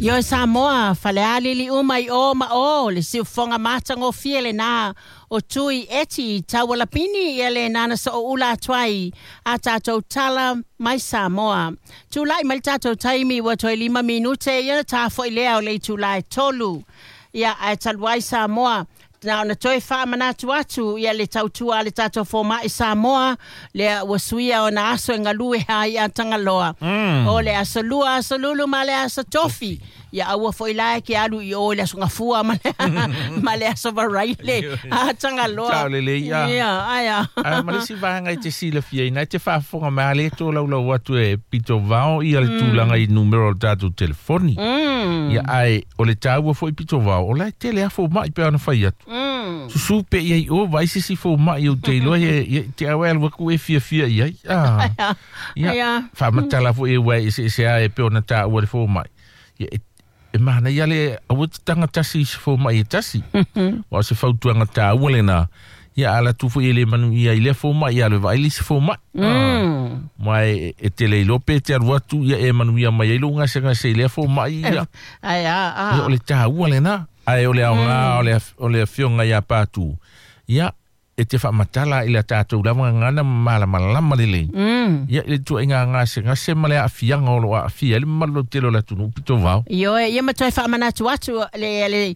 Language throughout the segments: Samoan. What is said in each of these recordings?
Ioe Samoa, falealili uma i o ma o, le siufofoga matagofie lena o Tui Eti Taualapini, ia lena na sooula atu ai a tatou tala mai Samoa. Tulai mai le tatou taimi ua toe 5 minute, ia ona ta foi lea o le itula e 3. Ia, ae talu ai Samoa, na ona toe faamanatu atu ia le tautua a le tatou fomai Samoa, lea ua suia ona aso e galue ai a Tagaloa. O le aso Lua, aso Lulu ma le aso Tofi. Ia aua foi la e ke alu i o i le aso Gafua ma le, ma le aso Varaile a Tagaloa. Tao lelei, ia. Ia, aia. Ae ma le isi vaega e te silafiaina, e te faafofoga mai a le tolaulau atu e pito vao ia le tulaga i numera o le tatou telefoni. Ia ae o le taua foi pito vao, o la e tele lava fomai pe ana fai atu. Susu pe i ai o vaai se isi fomai ou te iloa ia te au e alu atu e fiafia i ai. Ah. Ia, Ia. faamatala foi e ua eseese lava e pei ona taua le fomai. Ia, e manaia le aua te taga tasi i se fomai e tasi. Aua o se fautuaga taua lena. Ia a alu atu foi e le manuia i lea fomai, ia alu e vaai le isi fomai. Ma e te le iloa pe te alu atu ia e manuia mai ai lou gasegase i lea fomai. Ia. Ai a, a. Ia, o le taua lena. Ae o le aoga o le afioga ia Patu, ia, e te faamatala i la tatou lava gagana ma malamalama lelei. Ia, i le ituaiga gasegase ma le aafiaga o lo o aafia ai le mamalu lautele o le atunuu pito vao. Ioe, ia ma toe faamanatu atu le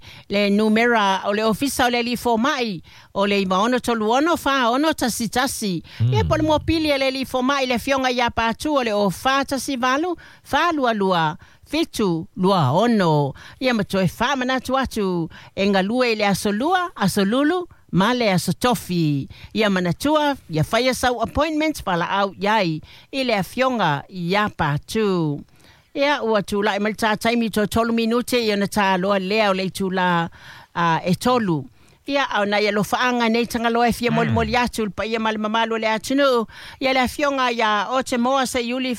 numera o le ofisa o le alii fomai, o le 9636 41. Ia po o le mopili a le alii fomai le afioga ia Patu o le o 418 422 726. Ia ma toe faamanatu atu e galue i le aso Lua, aso Lulu ma le aso Tofi. Ia manatua, ia faia sau appointment valaau i ai i le afioga ia Patu. Ia, ua tulai mai le ta taimi toe 3 minute ia ona ta loa lea o le itula e 3. Ia, a o nai alofaaga nei Tagaloa e fia molimoli atu i le paia ma le mamalu o le atunuu, ia le afioga ia Otemoa Seiuli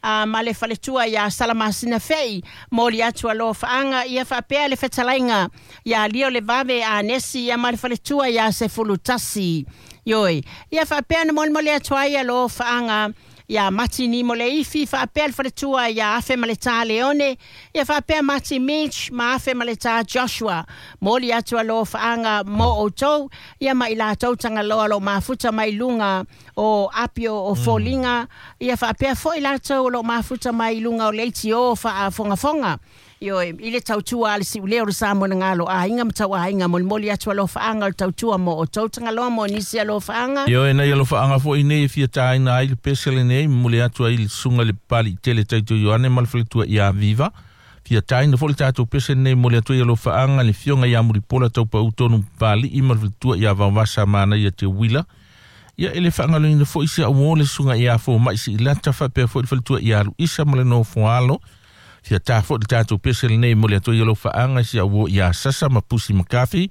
ma le faletua ia Salamasina Fei, moli atu alofaaga, ia faapea le fetalaiga ia Lio Levave Anesi, ia ma le faletua ia Sefulutasi. Ioe, ia faapea na molimoli atu ai alofaaga ia Mati Nimo Leifi, faapea le faletua ia Afe ma le Tā Leone, ia faapea Mati Mitch ma Afe ma le Tā Joshua. Moli atu alofaaga mo outou, ia ma i latou Tagaloa lo mafuta mai luga o Apio o Foliga, ia faapea foi latou o lo mafuta mai luga o Leitio faafogafoga. Ioe, i le tautua a le siuleo o le Samoa na galo aiga ma tau aiga, molimoli atu alofaaga o le tautua mo outou Tagaloa mo nisi alofaaga. Ioe, nai alofaaga foi nei e fia tāina ai le pese lenei, momoli atu ai le susuga i le Papali'i tele Taito Ioane ma le faletua ia Viva. Fia tāina foi le tatou pese lenei, momoli atu ai alofaaga le afioga ia Mulipola Taupau Tonu Papali'i ma le faletua ia Vaovasa Manaia Te Uila. Ia, e le faagaloina foi si au uo le susuga ia Fomai Siilata faapea foi le faletua ia Luisa ma le nofoalo. Fia tā foi le tatou pese lenei, momoli atu ai alofaaga si au uo ia Sasa ma Pusi Makafi.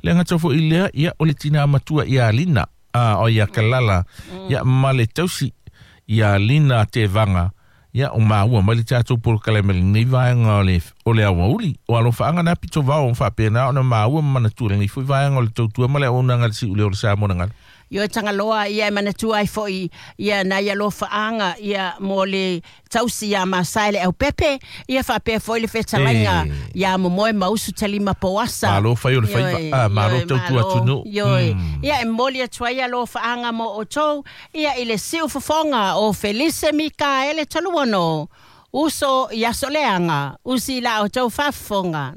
Le gata foi lea, ia, o le tina matua ia Lina, a o ia Kalala, ia ma le tausi ia Lina Tevaga, ia o maua mai le tatou polokalame lenei vaega o le aoauli. O alofaaga na pito vao o faapena ona maua ma manatua lenei foi vaega o le tautua ma le auaunaga a le siuleo o le Samoa na galo. Ioe Tagaloa, ia e manatua ai foi ia nai alofaaga ia mo le tausi ia Masae le Aupepe, ia faapea foi le fetalaiga ia Momoe Mausu Talima Poasa. Malo fai o le faiva, Ioe, malo ioe, tautua malo. atunuu. Ioe. Ia e momoli atu ai alofaaga mo outou, ia i le siufofoga o Felise Mikaele Taluono, uso i aso leaga, usi la outou faafofoga.